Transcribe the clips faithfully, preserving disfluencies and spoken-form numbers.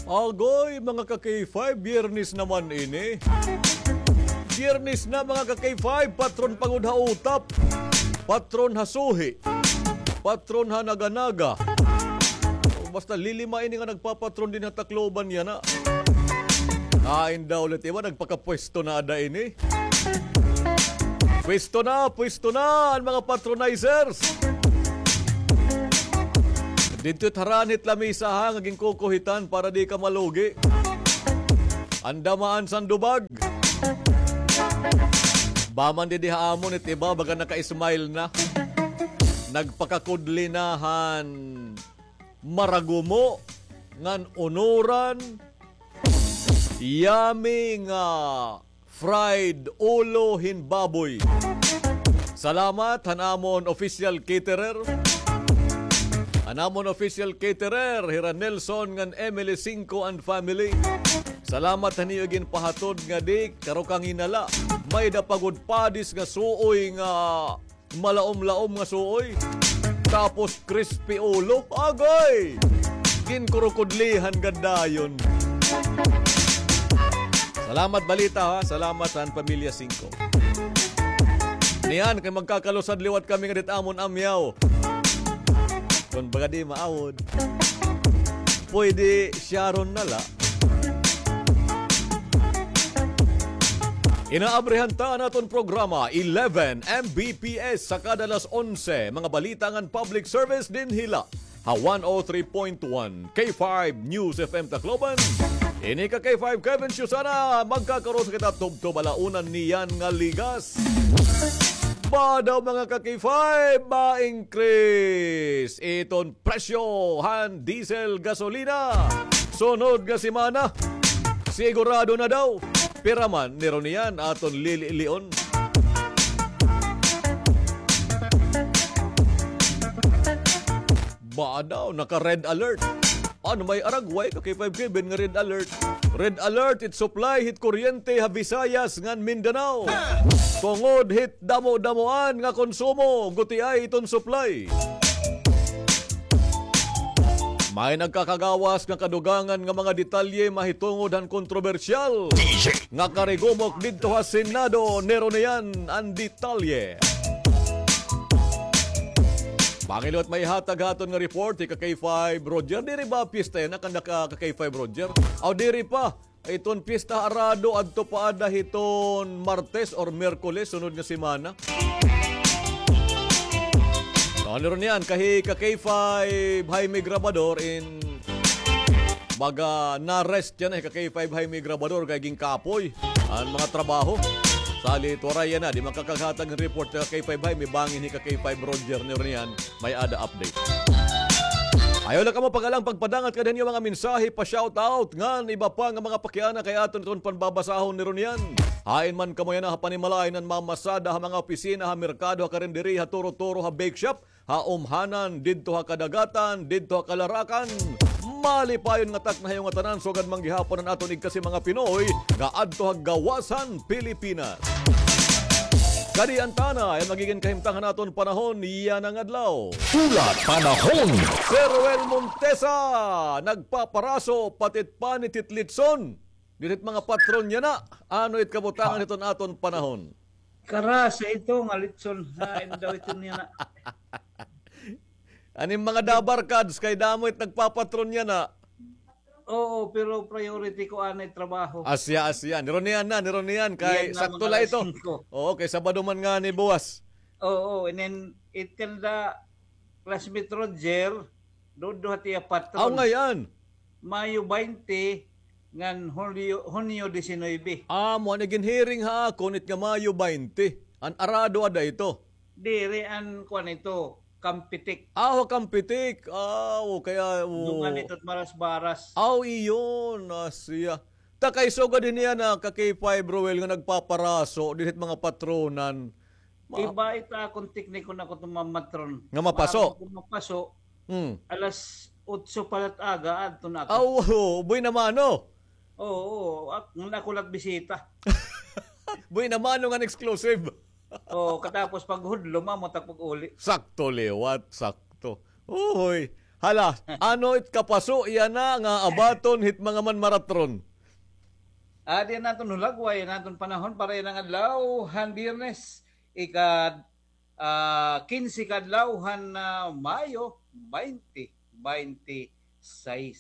Agoy, mga ka-K five, Biyernes naman ini. Biyernes na, mga ka-K five, patron pa gud ha utap. Patron ha suhi. Patron ha naga-naga. Basta lilima ini nga nagpapatron dinhi ha Tacloban yana. Hain daw ulit iba, nagpakapwesto na ada ini. Pwesto na, pwesto na an mga patronizers. Didto it harani hit lamisa ha, nga ginkukuhitan para di ka malugi. Anda man sandubag. Ba man didi ha amon it iba, baga naka-smile na. Nagpakakudli na han maragumo ngan unuran. Yummy nga fried ulo hin baboy. Salamat han amon official caterer. An amon official caterer, hira Nelson ngan Emily Cinco and family. Salamat han iyo ginpahatod nga di karo kanginala. May-ada pa gud padis nga suoy nga malaom-laom nga suoy. Tapos crispy ulo. Agoy! Ginkurukudlihan gad dayon. Salamat balita ha. Salamat han Pamilya Cinco. Niyan, kay magkakalusad liwat kami nga dit amon amyaw. Kon baga di maawod. Pwede Sharon na la. Inaabrihan ta an aton programa, eleven M B P S, sa kada alas onse, mga balita ngan public service dinhi la ha one oh three point one K five News F M Tacloban. Ini ka K five Kevin Susana, magkakaroon kita tubtob alauna niyan nga ligas. Ba daw, mga ka K five, ma-increase iton presyo han diesel, gasolina. Sunod nga semana, sigurado na daw. Pira man, niro niyan aton lililion. Ba daw, naka-red alert. Ano may aragway ka K five Kevin nga red alert? Red alert, it supply, hit kuryente ha Visayas ngan Mindanao. Tungod hit damo-damoan nga konsumo, gutiay iton supply. May nagkakagawas nga kadugangan nga mga detalye mahitungod han kontrobersyal nga karigumok didto ha Senado, niro niyan an detalye. Pangilot may hatag ha aton nga report, ika K five Roger, diri ba pista yana kan naka ka K five Roger? Aw, diri pa. Iton pista ha Arado, adto pa ada hiton Martes or Miyerkules, sunod nga semana. Ano ron yan? Kahi ka K five Jaime Grabador in baga na-rest yana, hi ka K five Jaime Grabador, kay ginkapoy an mga trabaho. Salit waray yana, di makakaghatag hin report ka K five Jaime, bangin hi ka K five Roger, ni ron yan. May-ada update. Ayaw la kamo pag-alang pagpadangat kada niyo mga mensahe pa-shoutout ngan iba pa nga mga pakiana kay aton iton panbabasahon ni Ronian. Hain man kamo yana ha panimalay nan mamasada ha mga opisina, ha merkado, ha karinderiya, ha turo-turo, ha bake shop, ha umhanan, didto ha kadagatan, didto ha kalarakan. Malipayon nga takna ha iyo ngatanan, sugad man gihapon an aton igkasi mga Pinoy nga adto ha gawasan Pilipinas. Kadi an tana, an magigin kahimtang han aton panahon yana nga adlaw. Hulat panahon. Sir Ruel Montesa, nagpaparaso, pati it panit hit litson. Diri it mga patron yana, ano it kabutangan hiton aton panahon? Karasa ito nga litson. Hain daw ito niya na. An im mga dabarkads, kay damo it nagpapatron yana. Oo, pero priority ko anay trabaho. Asya, asya. Ni Ronian na, ni Ronian. Kay sakto la ito. Oo, kay Sabado man ngani buwas. Oo, and then it can the classmate Roger, duduha tiya patron. Aw, ngay-an. Mayo baynte ngan Hunyo, Hunyo disinuybe. Ah, mo na ginhiring ha akon it nga Mayo baynte. An Arado ada ito. Diri an kuan ito. Kampitik. Aw, Kampitik. Aw, kaya, o. Dungan ito it Marasbaras. Aw, iyon, asya. Ta kay sugad hini yana ka K five Roel nga nagpaparaso dinhi it mga patronan. Iba ita akon tekniko na ko ito mamatron. Nga mapaso? Mapaso. Hmm. Alas otso pa la it aga, adto na ako. Aw, buena mano. Oo, oo. Ak-, ngan ako la it bisita. Buena mano ngan exclusive. Oo, katapos paghudlo, mamutak pag-uli. Sakto liwat, sakto. Uhoy. Hala, ano it kapaso yana nga abaton hit mga manmaratron? Adi an aton hulagway, an aton panahon para yana nga adlaw han Biyernes, ika, ah, kinse ka adlaw han, ah, Mayo, twenty twenty-six.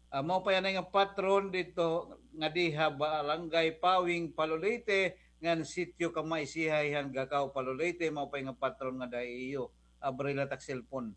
Ah, mao pa yana nga patron didto nga diha Barangay Pawing, Palo, Leyte, ngan Sitio Kamaisihay han Gacao, Palo, Leyte, mao pa nga patron nga diha iyo. Abri la tak cellphone.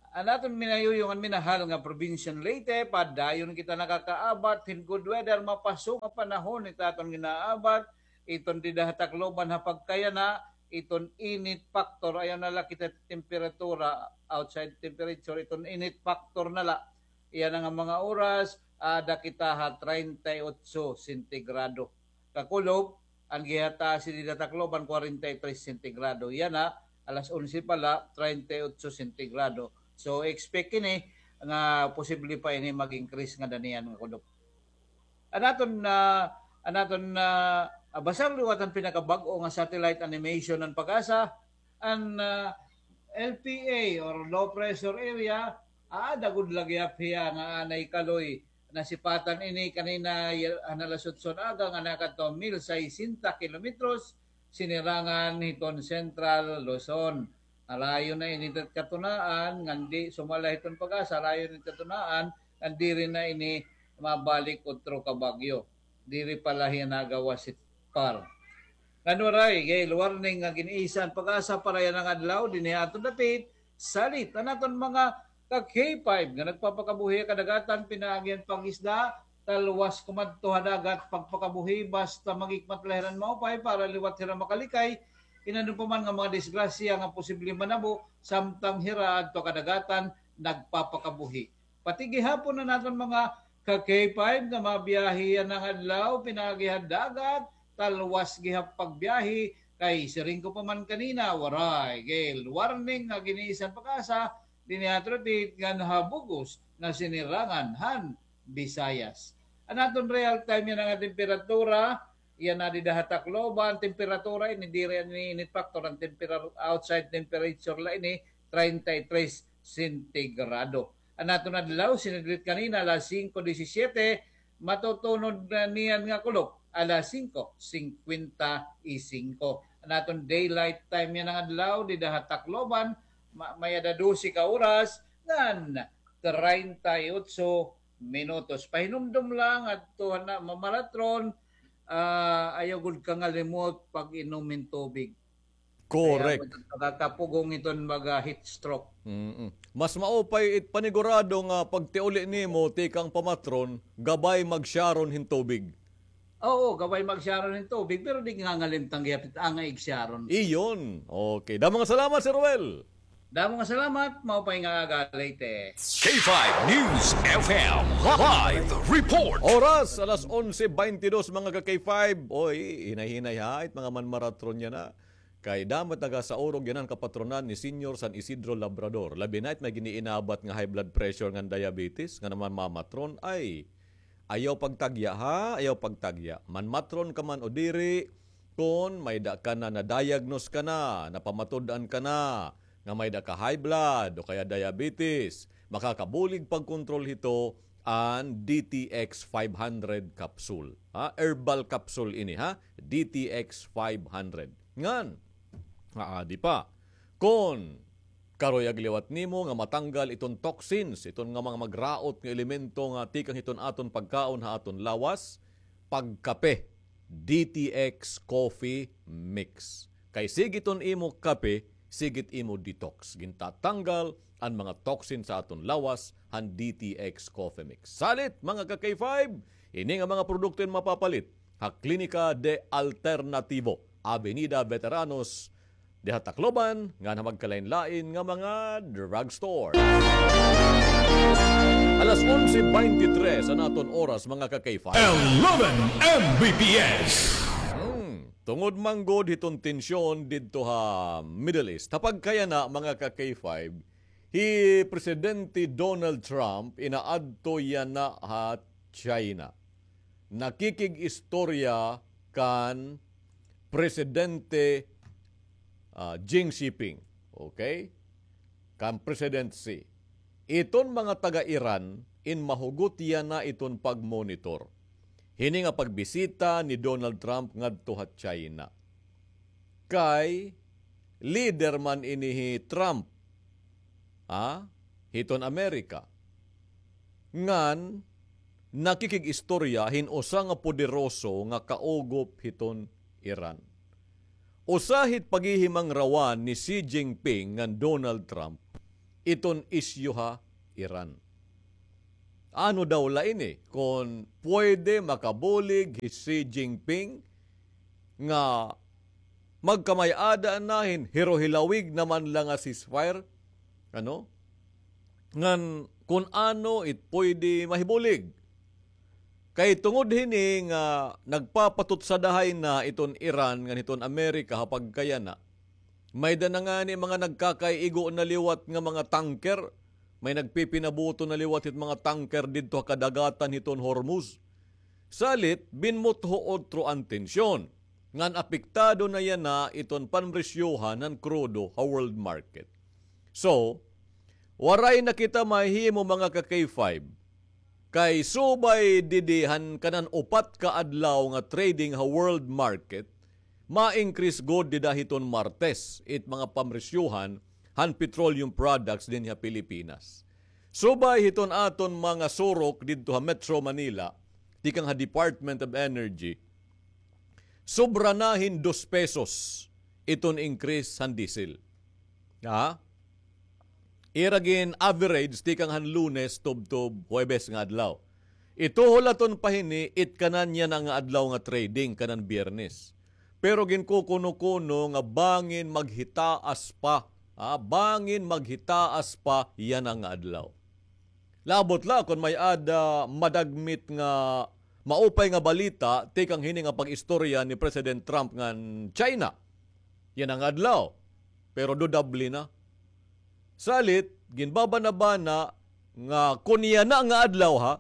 An aton minayuyong an minahal nga probinsya han Leyte, padayon kita nakakaabat hin good weather, mapaso nga panahon it aton ginaabat. Iton dida ha Tacloban ha pagkayana, iton init factor, ayaw na la kita temperatura, outside temperature, iton init factor na la. Yana nga mga oras, ada kita ha treinta y ocho sentigrado. Kakulop, an gihataas dida Tacloban, kwarenta y tres sentigrado. Yana, alas onse pa la, treinta y ocho sentigrado. So, expect ini nga posible pa ini mag-increase ngada niyan nga kulop. An aton, ah, an aton, ah, basahon liwat an pinakabag-o nga satellite animation han PAGASA, an, ah, L P A or low pressure area, aada gud la gihap hiya nga anay kaloy. Nasipatan ini kanina, y-, han alas otso han aga nga nakadto mil sesenta kilometros, sinirangan hiton Central Luzon. Halayo na ini katunaan, ngan di sumala hiton PAGASA, halayo na ini katunaan, ngan diri na ini mabalik utro ka bagyo. Diri pa la hiya nagawas hit PAR. Ngan waray gale warning nga gin-isa han PAGASA para yana nga adlaw dinhi ha aton dapit, salit an aton mga ka K five nga nagpapakabuhi ha kadagatan pinaagi han pangisda, talwas kumadto ha dagat pagpakabuhi basta maghikmat la hira hin maupay para liwat hira makalikay hin ano pa man nga mga disgrasya nga posible manabo samtang hira adto ha kadagatan nagpapakabuhi. Pati gihapon an aton mga ka K five nga mabiyahe yana nga adlaw pinaagi ha dagat, talwas gihap pagbiyahe kay siring ko pa man kanina, waray gale warning nga gin-isa han PAGASA dinhi ha aton dapit ngan ha bug-os nga sinirangan han Visayas. An aton real time yana nga temperatura, yana dida ha Tacloban, temperatura ini, diri ini init factor, an tempera-, outside temperature la ini, treinta y tres sentigrado. An aton adlaw, sinidlit kanina, alas singko disisiete, matutunod na niyan nga kulop, alas singko singkwenta y singko. An aton daylight time yana nga adlaw, dida ha Tacloban, ma-, may-ada dose ka oras, ngan treinta y ocho minutos. Pahinumdom lang adto han mga manmaratron, ah, ayaw gud kangalimot pag-inom hin tubig. Correct. Kay amo makakapugong iton mga heat stroke. Mm-mm. Mas maupay it panigurado nga pagtiuli nimo tikang pamatron, gabay magsiyaron hin tubig. Oo, gabay magsiyaron hin tubig, pero di ngangalimtan gihap it angay igsiyaron. Iyon. Okay. Damo nga salamat, Sir Ruel. Damo nga salamat, maupay nga aga, Leyte. K five News F M live report. Oras, alas onse beintidos, mga ka K five. Oy, hinay-hinay ha, it mga manmaratron yana. Kay damo it nagasaurog yana han kapatronan ni Señor San Isidro Labrador. Labi na it may gin-iinabat nga high blood pressure ngan diabetes, nga naman mamatron. Ay, ayaw pagtagya, ha? Ayaw pagtagya. Manmatron ka man o diri, kon may-ada ka na, na-diagnose ka na, napamatud-an ka na, nga may-ada ka high blood o kaya diabetes, makakabulig pagkontrol hito an D T X five hundred capsule. Ha? Herbal capsule ini, ha? D T X five hundred. Ngan, aadi pa. Kon karuyag liwat nimo nga matanggal iton toxins, iton nga mga magraot nga elemento nga tikang hiton aton pagkaon ha aton lawas, pagkape, D T X Coffee Mix. Kay sige iton imo kape, sige it imo detox. Gintatanggal an mga toxin sa aton lawas han D T X Coffee Mix. Salit, mga ka K five, ini nga mga produkto in mapapalit ha Klinika de Alternativo, Avenida Veteranos, diha Tacloban, ngan ha magkalain-lain nga mga drugstore. Alas onse beintitres an aton oras, mga ka K five. Eleven M B P S. Hmm, tungod man gud hiton tensyon didto ha Middle East. Ha pagkayana, mga ka K five, hi Presidente Donald Trump inaadto yana ha China. Nakikig-istorya kan Presidente, ah, Xi Jinping. Okay? kan President Xi, iton mga taga-Iran in mahugot yana iton pagmonitor hini nga pagbisita ni Donald Trump ngadto ha China. Kay leader man ini hi Trump, ha, hiton Amerika, ngan nakikig-istorya hin usa nga poderoso nga kaugop hiton Iran. Usa hit paghihimangrawan ni Xi Jinping ngan Donald Trump iton isyu ha Iran. Ano daw la ini kon pwede makabulig hi Xi Jinping nga magkamay-ada na hin hirohilawig naman la nga ceasefire? Ano? Ngan kun ano it pwede mahibulig. Kay tungod hini nga nagpapatutsadahay na iton Iran ngan hiton Amerika ha pagkayana, may-ada na ngani mga nagkakaigo na liwat nga mga tanker, may nagpipinabuto na liwat hit mga tanker didto ha kadagatan hiton Hormuz. Salit, binmutho utro an tensyon, ngan apektado na yana iton panresyohan han krudo ha world market. So, waray na kita mahimo, mga ka-K five, kay subay didi han kanan upat ka adlaw nga trading ha world market, ma-increase gud dida hiton Martes it mga pamresyohan han petroleum products dinhi ha Pilipinas. Subay hiton aton mga surok didto ha Metro Manila, tikang ha Department of Energy, sobra na hin dos pesos iton increase han diesel. Ha? Ira gin-average tikang han Lunes tubtob Huwebes nga adlaw. Ituhol aton pa hini it kanan yana nga adlaw nga trading, kanan Biyernes. Pero ginkukuno-kuno nga bangin maghitaas pa, ha? Bangin maghitaas pa yana nga adlaw. Labot la kon may-ada madagmit nga maupay nga balita tikang hini nga pag-istorya ni President Trump ngan China yana nga adlaw. Pero dudable na. Salit, ginbabanabana nga kon yana nga adlaw, ha,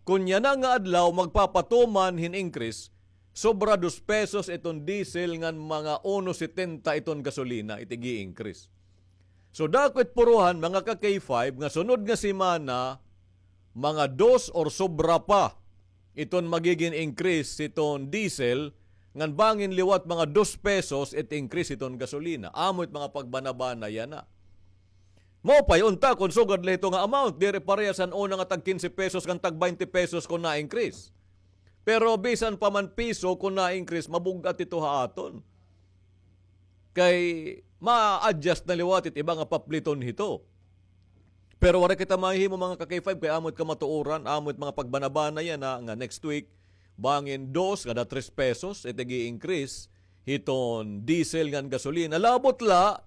kon yana nga adlaw magpapatuman hin increase, sobra dos pesos iton diesel ngan mga uno setenta iton gasolina, it ig-i-increase. So, dako it puruhan, mga ka-K five, nga sunod nga semana, mga dos or sobra pa iton magigin increase hiton diesel, ngan bangin liwat mga dos pesos it increase hiton gasolina. Amo it mga pagbanabana yana. Maupay unta kon sugad la hito nga amount, diri parehas han una nga tag kinse pesos ngan tag baynte pesos kon na-increase. Pero bisan pa man piso kon na-increase, mabug-at ito ha aton. Kay ma-adjust na liwat it iba nga papliton hito. Pero waray kita mahimo, mga ka-K five, kay amo it kamatuoran, amo it mga pagbanabana yana nga next week, bangin dos ngada tres pesos it ig-i-increase hiton diesel ngan gasolina. Labot la,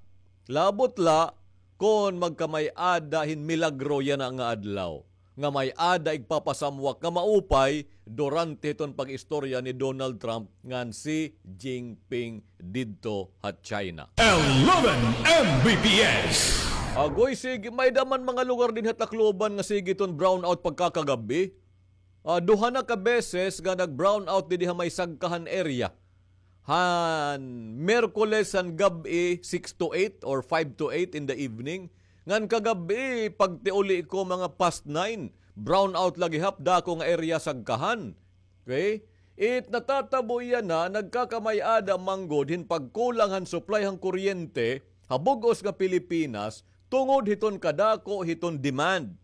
labot la kon magkamay-ada hin milagro yana nga adlaw nga may-ada igpapasamwak nga maupay durante hiton pag-istorya ni Donald Trump ngan Xi Jinping didto ha China. Eleven M B P S. Agoy, sige, may-ada man mga lugar dinhi ha Tacloban nga sige iton brownout pagkakagab-i. Ah, duha na ka beses nga nag-brownout didi ha may Sagkahan area. Han Miyerkules han gab-i, six to eight or five to eight in the evening. Ngan kagab-i, pagtiuli ko mga past nine, brownout la gihap, dako nga area Sagkahan. Okay? It natatabo yana, nagkakamay-ada man gud hin pagkulang han supply han kuryente ha bug-os nga Pilipinas tungod hiton kadako hiton demand.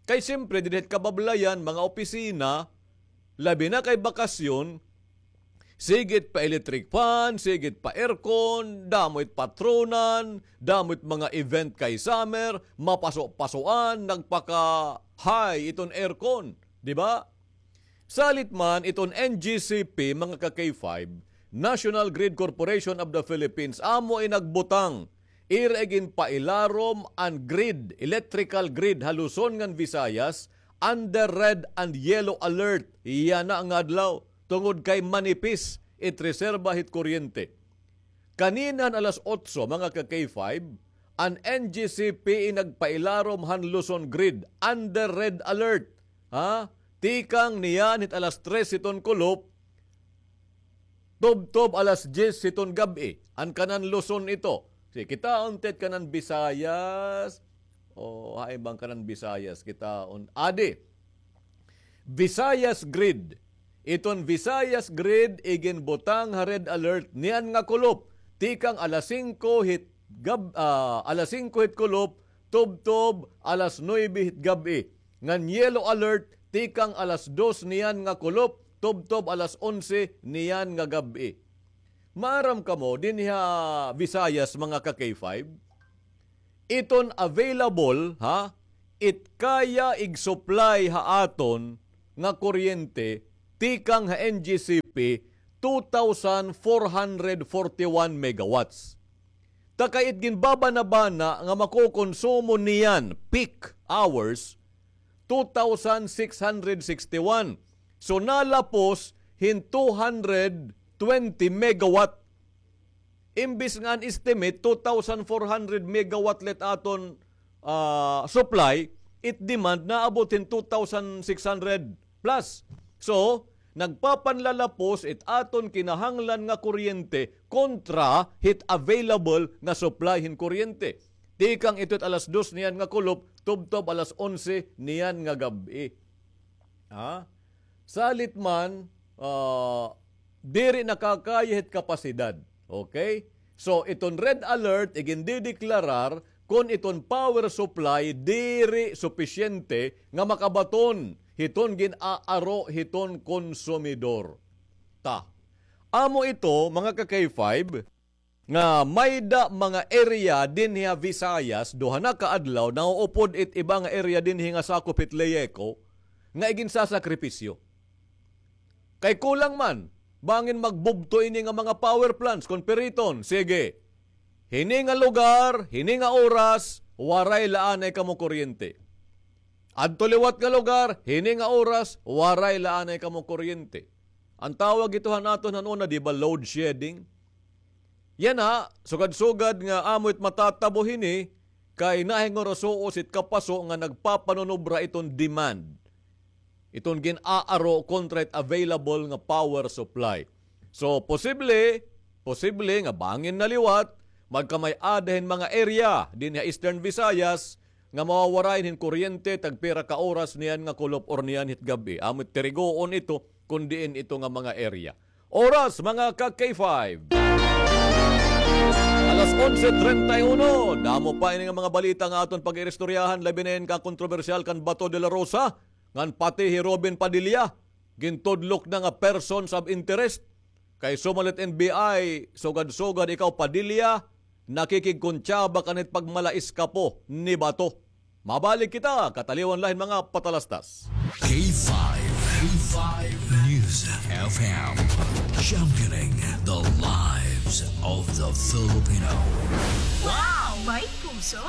Kay siyempre, didi ha kabablayan, mga opisina, labi na kay bakasyon, sige it pa-electric fan, sige it pa-aircon, damo it patronan, damo it mga event kay summer, mapaso-pasoan, nagpaka-high iton aircon, di ba? Salit man iton N G C P, mga ka-K five, National Grid Corporation of the Philippines, amo in nagbutang, ira iginpailarom an grid, electrical grid ha Luzon ngan Visayas under red and yellow alert yana nga adlaw tungod kay manipis it reserba hit kuryente. Kanina han alas otso, mga ka-K five, an N G C P in nagpailarom han Luzon grid under red alert. Ha? Tikang niyan hit alas tres hiton kulop, tubtob alas dyes hiton gab-i, an kanan Luzon ito. Sige, kitaon ta it kanan Visayas, O, hain ba an kanan Visayas, kita un, adi. Visayas Grid. Iton Visayas Grid iginbutang ha red alert niyan nga kulop tikang alas singko hit gab-, ah, alas singko hit kulop tubtob alas nuebe hit gab-i. Ngan yellow alert tikang alas dos niyan nga kulop tubtob alas onse niyan nga gab-i. Maaram kamo, dinhi ha Visayas, mga ka-K five, iton available, ha, it kaya igsupply ha aton nga kuryente tikang ha N G C P, two thousand four hundred forty-one megawatts. Ta kay it ginbabanabana nga makokonsumo niyan peak hours, two thousand six hundred sixty-one. So, nalapos hin two hundred twenty megawatt. Imbis nga an estimate, two thousand four hundred megawatt la it aton, ah, supply, it demand naabot hin two thousand six hundred plus. So, nagpapanlalapos it aton kinahanglan nga kuryente kontra hit available nga supply hin kuryente. Tikang ito it alas dos niyan nga kulop, tubtob alas onse niyan nga gab-i. Ha? Salit man, ah, diri nakakaya hit kapasidad. Okay? So, iton red alert, igindideklarar kon iton power supply diri supisyente nga makabaton hiton gin-aaro hiton konsumidor. Ta. Amo ito, mga ka-K five, nga mayda mga area dinhi ha Visayas, duha na ka adlaw, nauupod it iba nga area dinhi nga sakop hit LEEECO, nga iginsasakripisyo. Kay kulang man, bangin magbubto ini nga mga power plants, kon piriton, sige. Hini nga lugar, hini nga oras, waray la anay kamo kuryente. Adto liwat nga lugar, hini nga oras, waray la anay kamo kuryente. An tawag ito han aton han una, di ba, load shedding? Yana, sugad-sugad nga amo it matatabo hini, kay nahinguro suot it kapaso nga nagpapanunobra iton demand. Iton gin-aaro kontra it available nga power supply. So, posible, posible nga bangin na liwat, magkamay-ada hin mga area dinhi ha Eastern Visayas nga mawawarayan hin kuryente tagpira ka oras niyan nga kulop or niyan hit gab-i. Amo it tirigoon ito kon diin ito nga mga area. Oras, mga ka-K five. Alas onse treinta y uno. Damo pa ini nga mga balita nga aton pag-iristoryahan, labi na ini ka kontrobersyal kan Bato de la Rosa, ngan pati hi Robin Padilla, gintudlok na nga persons of interest. Kay sumalit N B I, sugad-sugad ikaw, Padilla, nakikigkontsaba ka hit pagmalaiskapo ni Bato. Mabalik kita, kataliwan la hin mga patalastas. K five, K five News F M, championing the lives of the Filipino. Wow! May puso!